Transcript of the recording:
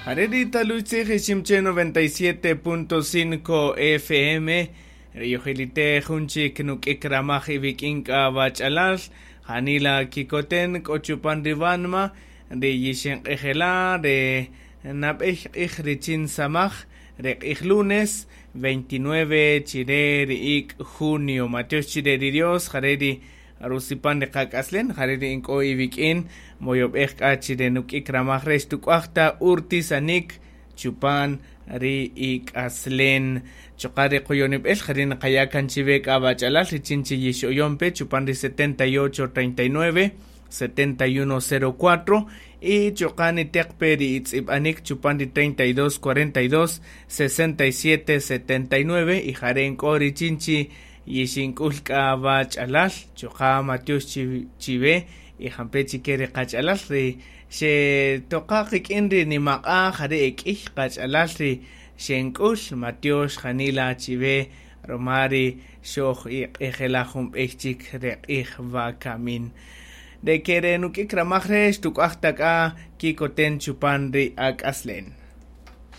Jare' ri taluy tzij Iximche 97.5 FM ri yojilitej jun chik nuk'ik ramaj iwik'in k'a wach'alal janila kikoten k'o chupan ri wanma ri yixinq'ijela' ri nab'ey q'ij richin samaj ri q'ij lunes 29 chire ri ik' junio. Matiox chire ri Dios jare' ri rusipan ri qak'aslen jare' ri ink'o iwik'in moyob'ej k'a chire nuk'ik ramaj re' xtuk'uaj ta urtisanik chupan ri ik'aslen. Chuqa' ri qoyonib'el jare' niqaya' kan chiwe k'a wach'alal richin chi yixoyon pe chupan ri 78 39 7104 y chuqa' niteq pe ri itz'ib'anik chupan ri 32 42 67 79 y jare' nk'o richin chi yixink'ul k'a wach'alal chuqa' matiox chiwe y jampe' chike ri qach'alal ri xetoqa qik'in ri nimaq'a' jare' e k'iy qach'alal ri xenk'ul matiox janila chiwe ruma ri xoj iq'ijela' jun b'ey chik re q'ij wakamin. De ke re nuk'ik ramaj re' xtuk'uaj ta k'a kikoten chupan ri ak'aslen.